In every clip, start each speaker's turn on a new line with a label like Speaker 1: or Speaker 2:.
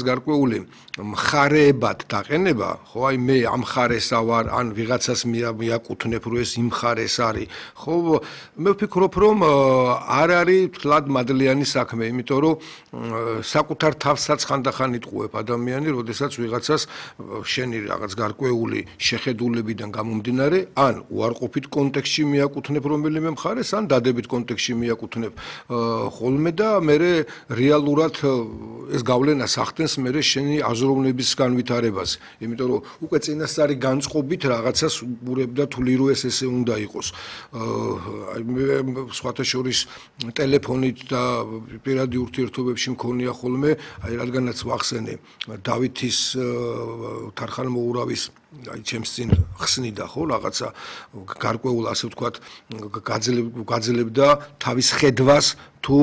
Speaker 1: გარკვეული მხარეებად დაყენება, ხო, აი მე ამ მხარესა ვარ, ან ვიღაცას მიაკუთვნებ, რომ ეს იმ მხარეს არის, ხო, მე ვფიქრობ, რომ არ არის თლად მადლიანი საქმე, იმიტომ რომ საკუთარ თავსაც ხანდახან იტყუებ ადამიანი, როდესაც ვიღაცას შენი რაღაც გარკვეული შეხედულებიდან გამომდინარე, ან უარყოფით კონტექსტში მიაკუთვნებ რომელიმე მხარეს, ან დადებით კონტექსტში მიაკუთვნებ ხოლმე და მე რეალურად ეს გავლენა სახდენს მე შენი აზროვნების განვითარებაზე. იმიტომ რომ უკვე წინასწარი განწყობით რაღაცას ურებდა თვლი რომ ეს ესე უნდა იყოს. სხვათა შორის ტელეფონით და პირადი ურთიერთობებში მქონია ხოლმე, აი რადგანაც ვახსენე დავითის თარხანმოურავის აი ჩემს წინ ხსნიდა ხო რაღაცა გარკვეულ ასე ვთქვათ გაძლებდა თავის ხედვას თუ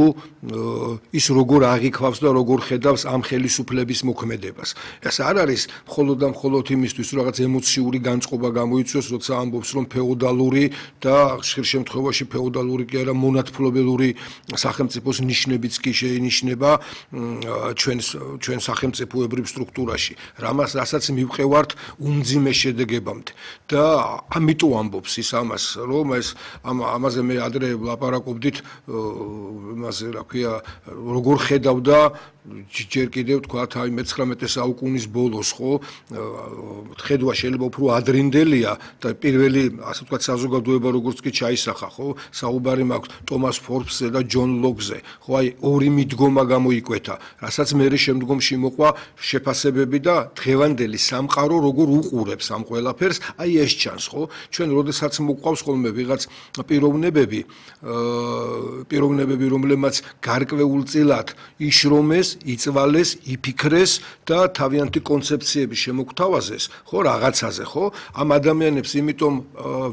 Speaker 1: ის როგორ აღიქვავს და როგორ ხედავს ამ ხელისუფლების მოქმედებას. ეს არ არის მხოლოდ და მხოლოდ იმისთვის რომ რაღაც ემოციური განწყობა გამოიწვიოს, როცა ამბობს რომ ფეოდალური და ხშირ შემთხვევაში ფეოდალური კი არა მონათფლობელური სახელმწიფოს ნიშნებიც კი შეინიშნება ჩვენ სახელმწიფოებრივ სტრუქტურაში. რასაც მივყევართ უმძიმე შედეგებამდე და ამიტომ ამბობს ის ამას, რომ ეს ამაზე მე ადრე ვლაპარაკობდით იმაზე რა ქვია როგორ ხედავდა ჯერ კიდევ თქვათ აი მე-19 საუკუნის ბოლოს ხო ხედვა შეიძლება უფრო ადრინდელია და პირველი ასე ვთქვათ საზოგადოება როგორც კი ჩაისახა ხო საუბარი მაქვს ტომას ფორბსზე და ჯონ ლოკზე ხო აი ორი მიდგომა გამოიკვეთა რასაც მე შემდგომში მოყვა შეფასებები და დღევანდელი სამყარო როგორ უყურებს ამ ყველაფერს აი ეს ჩანს ხო ჩვენ როდესაც მოყვავს ხოლმე ვიღაც პიროვნებები რომლებმაც გარკვეულწილად იშრომეს იწვალეს, იფიქრეს და თავიანთი კონცეფციები შემოგთავაზეს, ხო, რაღაცაზე, ხო? ამ ადამიანებს იმიტომ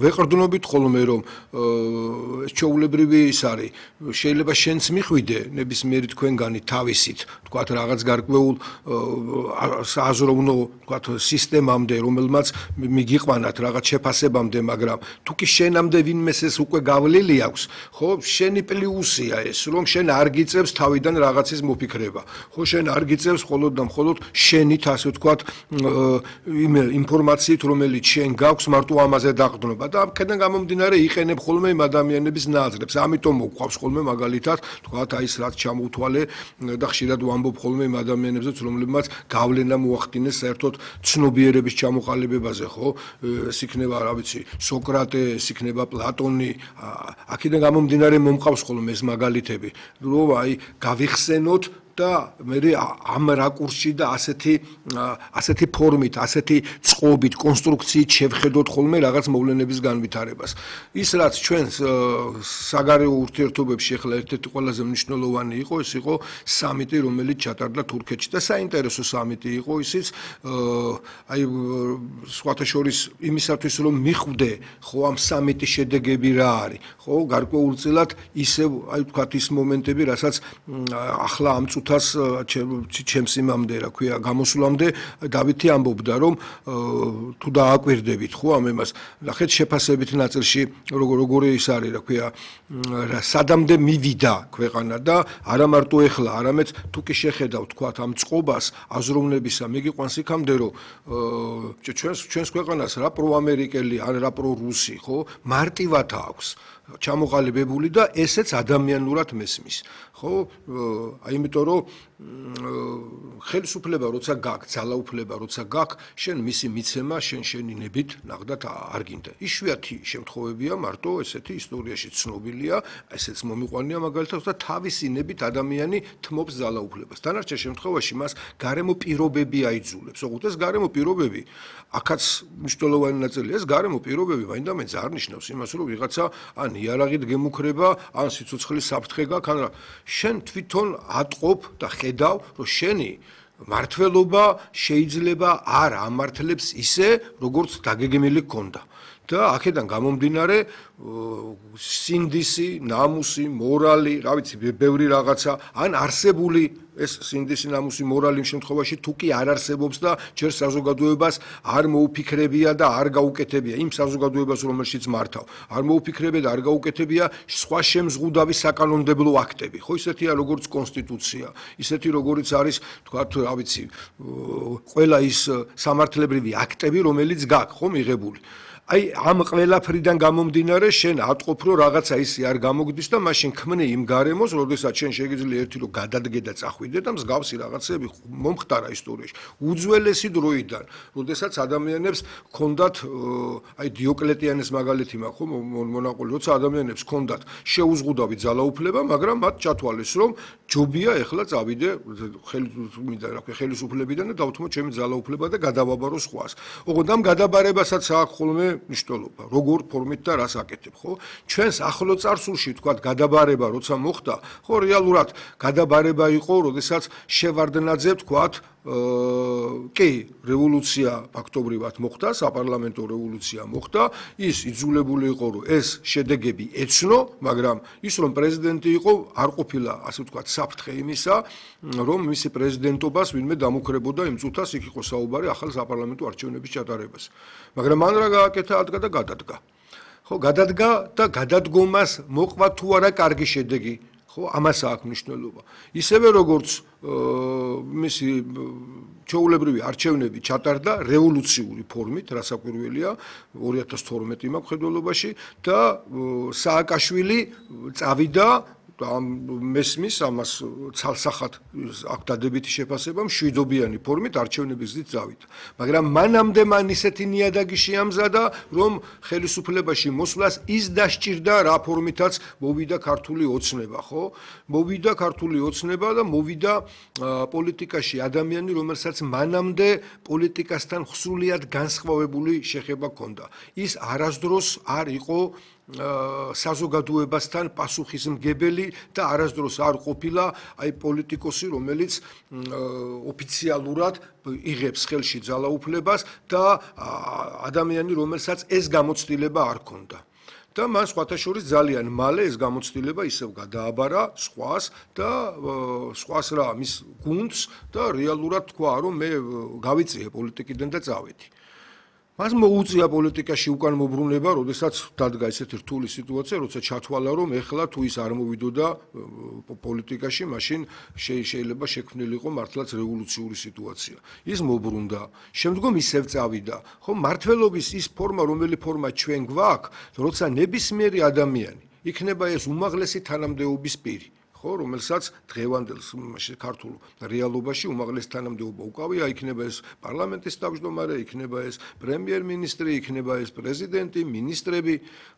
Speaker 1: ვეყრდნობით ხოლმე რომ ჩვეულებრივი ის არის, შეიძლება შენც მიხვიდე ნებისმიერი თქვენგანი თავისით, თქვათ რაღაც გარკვეულ სააზროვნო, თქვათ სისტემამდე, რომელმაც მიგიყვანათ რაღაც შეფასებამდე, მაგრამ თუ კი შენამდე ვინმეს ეს უკვე გავლილი აქვს, ხო, შენი პლუსია ეს, რომ შენ არ გიწევს თავიდან რაღაცის მოფიქრება. ხო შენ არ გიწევს მხოლოდ და მხოლოდ შენით ასე ვთქვათ ინფორმაციით რომელიც შენ გაქვს მარტო ამაზე დაყრდნობა და აქედან გამომდინარე იყენებ ხოლმე იმ ადამიანების ნააზრებს ამიტომ მოყვავს ხოლმე მაგალითად თქვათ აი ეს რაც ჩამოვთვალე და ხშირად ვამბობ ხოლმე იმ ადამიანებზეც რომლებმაც გავლენა მოახდინეს საერთოდ ცნობიერების ჩამოყალიბებაზე ხო ეს იქნება რა ვიცი სოკრატე ეს იქნება პლატონი აქედან გამომდინარე მომყავს ხოლმე ეს მაგალითები რომ აი გავიხსენოთ და მე ამ რაკურსში და ასეთი ფორმით, ასეთი წყობით, კონსტრუქციით შევხედოთ ხოლმე რაღაც მოვლენების განვითარებას. ის რაც ჩვენს საგარეო ურთიერთობებში ახლა ერთ-ერთი ყველაზე მნიშვნელოვანი იყო, ეს იყო სამიტი, რომელიც ჩატარდა თურქეთში და საინტერესო სამიტი იყო ისიც აი სხვათა შორის იმისათვის რომ მიხვდე ხო ამ სამიტის შედეგები რა არის, ხო გარკვეულწილად ისევ აი ვთქვათ ის მომენტები, რასაც ახლა ამ ჩემს იმამდე რა ქვია გამოსვლამდე დავითი ამბობდა რომ თუ დააკვირდებით ხო ამ ემას ნახეთ შეფასებით ნაწილში როგორი ის არის რა ქვია სადამდე მივიდა ქვეყანა და არა მარტო ეხლა არამედ თუ კი შეხედავთ თქვათ ამ წყობას აზროვნებისა მიგიყვანს იქამდე რომ ჩვენს ქვეყანას რა პროამერიკელი ან რა პრორუსი ხო მარტივად აქვს ჩამოყალიბებული და ესეც ადამიანურად მესმის ხო აი იმიტომ რომ ხელისუფლება როცა გაქვს ძალაუფლება როცა გაქვს შენ მისი მიცემა შენი ნებით ნახდათ არ გინდა იშვიათი შემთხვევებია მარტო ესეთი ისტორიაში ცნობილია ესეც მომიყვანია მაგალითად და თავისი ნებით ადამიანი თმობს ძალაუფლებას დანარჩენ შემთხვევაში მას გარემო პირობები აიძულებს ოღონდ ეს გარემო პირობები აქაც მნიშვნელოვანი ნაწილია ეს გარემო პირობები მაინდამაინც არ ნიშნავს იმას რომ ვიღაცა ან იარაღით გემუქრება ან სიცოცხლის საფრთხე გაქვს ან შენ თვითონ ატყობ და ხედავ რომ შენი მართლობა შეიძლება არ ამართლებს ისე როგორც დაგეგმილი გქონდა და აქედან გამომდინარე სინდისი, ნამუსი, მორალი, რა ვიცი, ბევრი რაღაცა, ან არსებული ეს სინდისი, ნამუსი, მორალი იმ შემთხვევაში თუ კი არ არსებობს და ჯერ საზოგადოებას არ მოუფიქრებია და არ გაუკეთებია იმ საზოგადოებას, რომელშიც მართავ. არ მოუფიქრებია და არ გაუკეთებია სხვა შემზღუდავი საკანონმდებლო აქტები. ხო, ისეთია როგორც კონსტიტუცია, ისეთი როგორც არის, თქვათ, რა ვიცი, ყველა ის სამართლებრივი აქტები, რომელიც გაქვს, ხო, მიღებული. აი ამ ყველაფრიდან გამომდინარე შენ ატყობ რომ რაღაცა ისე არ გამოგდის და მაშინ ქმნე იმ გარემოს, როდესაც შენ შეგიძლია ერთი რომ გადადგე და წახვიდე და მსგავსი რაღაცები მომხდარა ისტორიაში. უძველესი დროიდან, როდესაც ადამიანებს ჰქონდათ აი დიოკლეტიანეს მაგალითი მაქვს, ხო, მონაყოლი, როცა ადამიანებს ჰქონდათ შეუზღუდავი ძალაუფლება, მაგრამ მათ ჩათვალეს რომ ჯობია ეხლა წავიდე ხელისუფლებიდან და დავთმო ჩემი ძალაუფლება და გადავაბარო სხვას. ოღონდ ამ გადაბარებასაც აქვს ხოლმე მნიშვნელობა, როგორ ფორმით და რას აკეთებ, ხო? ჩვენს ახლო წარსულში თქვათ გადაბარება როცა მოხდა, ხო, რეალურად გადაბარება იყო, როდესაც შევარდნაძე თქვათ კი, რევოლუცია ფაქტობრივად მოხდა, საპარლამენტო რევოლუცია მოხდა, ის იძულებული იყო, რომ ეს შედეგები ეცნო, მაგრამ ის რომ პრეზიდენტი იყო, არ ყოფილა, ასე ვთქვათ, საფრთხე იმისა, რომ მისი პრეზიდენტობას ვინმე დამუქრებოდა იმ წუთას, იქ იყო საუბარი ახალ საპარლამენტო არჩევნების ჩატარებას. მაგრამ მან რა გააკეთა, ადგა და გადადგა. ხო, გადადგა და გადადგომას მოყვა თუ არა კარგი შედეგი. ხო, ამას აქვს მნიშვნელობა. ისევე როგორც მისი ჩვეულებრივი არჩევნები ჩატარდა რევოლუციური ფორმით, რასაკვირველია, 2012 მაქვს ხედველობაში და სააკაშვილი წავიდა მესმის ამას ცალსახად აქ დადებითი შეფასება მშვიდობიანი ფორმით არჩევნების გზით წავიდა. მაგრამ მანამდე მან ისეთი ნიადაგი შეამზადა, რომ ხელისუფლებაში მოსვლას ის დასჭირდა რა ფორმითაც მოვიდა ქართული ოცნება, ხო? მოვიდა ქართული ოცნება და მოვიდა პოლიტიკაში ადამიანი, რომელსაც მანამდე პოლიტიკასთან სრულიად განსხვავებული შეხება ჰქონდა. ის არასდროს არ იყო საზოგადოებასთან პასუხისმგებელი და არასდროს არ ყოფილა აი პოლიტიკოსი, რომელიც ოფიციალურად იღებს ხელში ძალაუფლებას და ადამიანი, რომელსაც ეს გამოცდილება არ ჰქონდა. და მან სხვათა შორის ძალიან მალე ეს გამოცდილება ისევ გადააბარა სხვას და სხვას რა მის გუნდს და რეალურად თქვა, რომ მე გავიწიე პოლიტიკიდან და წავედი. მას მოუწია პოლიტიკაში უკან მობრუნება, როდესაც დადგა ესეთი რთული სიტუაცია, როცა ჩათვალა, რომ ეხლა თუ ის არ მოვიდოდა პოლიტიკაში, მაშინ შეიძლება შექმნილიყო მართლაც რევოლუციური სიტუაცია. ის მობრუნდა, შემდგომ ისევ წავიდა. ხო, მართლობის ის ფორმა, რომელი ფორმა ჩვენ გვაქვს, როცა ნებისმიერი ადამიანი იქნება ეს უმაღლესი თანამდებობის პირი. ხო, რომელსაც დღევანდელ ქართულ რეალობაში უმაღლესი თანამდებობა უკავია, იქნება ეს პარლამენტის თავმჯდომარე, იქნება ეს პრემიერ-მინისტრი, იქნება ეს პრეზიდენტი, მინისტრები.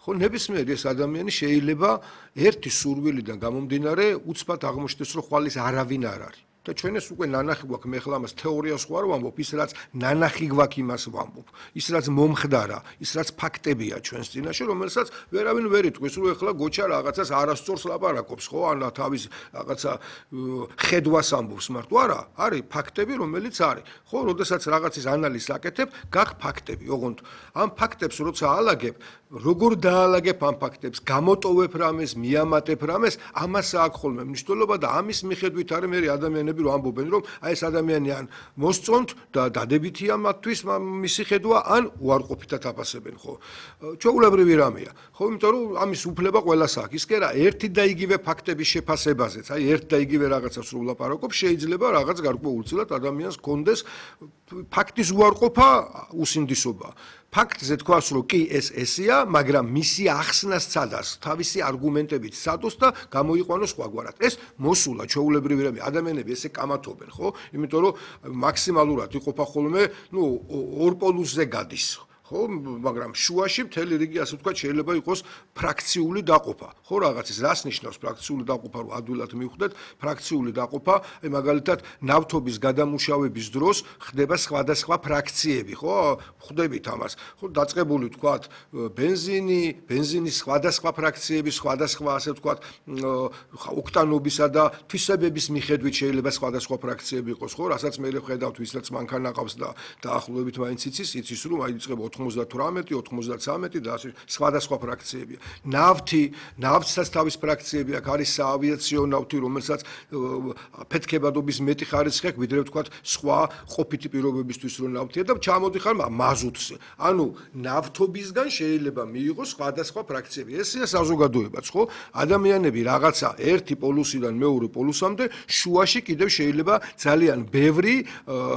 Speaker 1: ხო, ნებისმიერი ეს ადამიანი შეიძლება ერთი სურვილიდან გამომდინარე უცბად აღმოჩნდეს, რომ ხვალ ის არავინ არ არის. და ჩვენ ეს უკვე ნანახი გვაქვს, მე ხლა ამას თეორიას ხო არ ვამბობ, ის რაც ნანახი გვაქვს იმას ვამბობ. ის რაც მომხდარა, ის რაც ფაქტებია ჩვენს წინაშე, რომელსაც ვერავინ ვერ იტყვის, რომ ეხლა გოჩა რაღაცას არასწორს ლაპარაკობს, ხო, ან თავის რაღაცა ხედვას ამბობს, მარტო არა, არის ფაქტები, რომელიც არის. ხო, როდესაც რაღაცის ანალიზს აკეთებ, გაქვს ფაქტები. ოღონდ ამ ფაქტებს როცა ალაგებ, როგორ დაალაგებ ამ ფაქტებს, გამოტოვებ რამეს, მიამატებ რამეს, ამას აქვს ხოლმე მნიშვნელობა და ამის მიხედვით არის მე ადამიანები რომ ამბობენ, რომ აი ეს ადამიანი ან მოსწონთ და დადებითია მათთვის მისი ხედვა, ან უარყოფითად აფასებენ, ხო? ჩვეულებრივი რამეა. ხო, იმიტომ რომ ამის უფლება ყველას აქვს. ის კი არა, ერთი და იგივე ფაქტების შეფასებაზეც, აი ერთ და იგივე რაღაცას რო ვლაპარაკობ, შეიძლება რაღაც გარკვეულწილად ადამიანს ჰქონდეს ფაქტის უარყოფა უსინდისობა. ფაქტზე თქვას, რომ კი ეს ესეა, მაგრამ მისი ახსნა სცადას, თავისი არგუმენტებით სცადოს და გამოიყვანოს სხვაგვარად. ეს მოსულა ჩვეულებრივი რამე, ადამიანები ესე კამათობენ, ხო? იმიტომ რომ მაქსიმალურად იყოფა ხოლმე, ორ პოლუსზე გადის. ხო, მაგრამ შუაში მთელი რიგი ასე ვთქვათ შეიძლება იყოს ფრაქციული დაყოფა. ხო, რაღაცის რას ნიშნავს ფრაქციული დაყოფა, რომ ადვილად მივხვდეთ, ფრაქციული დაყოფა, აი მაგალითად ნავთობის გადამუშავების დროს ხდება სხვადასხვა ფრაქციები, ხო? ხვდებით ამას. ხო, დაწყებული ვთქვათ ბენზინის სხვადასხვა ფრაქციები, სხვადასხვა ასე ვთქვათ ოქტანობისა და თვისებების მიხედვით შეიძლება სხვადასხვა ფრაქციები იყოს, ხო? რასაც მე ხედავთ, ვისაც მანქანა ყავს და დაახლოებით მაინც იცის, რომ აი იწყება 98, 93 და ასე სხვადასხვა ფრაქციებია. ნავთსაც თავის ფრაქციები აქვს, არის საავიაციო ნავთი, რომელსაც ფეთქებადობის მეტი ხარისხი აქვს, ვიდრე ვთქვათ სხვა ყოფითი პირობებისთვის რო ნავთია და ჩამოდიხარ მაზუტზე. ანუ ნავთობისგან შეიძლება მიიღოს სხვადასხვა ფრაქციები. ესეა საზოგადოებაც, ხო? ადამიანები რაღაცა ერთი პოლუსიდან მეორე პოლუსამდე შუაში კიდევ შეიძლება ძალიან ბევრი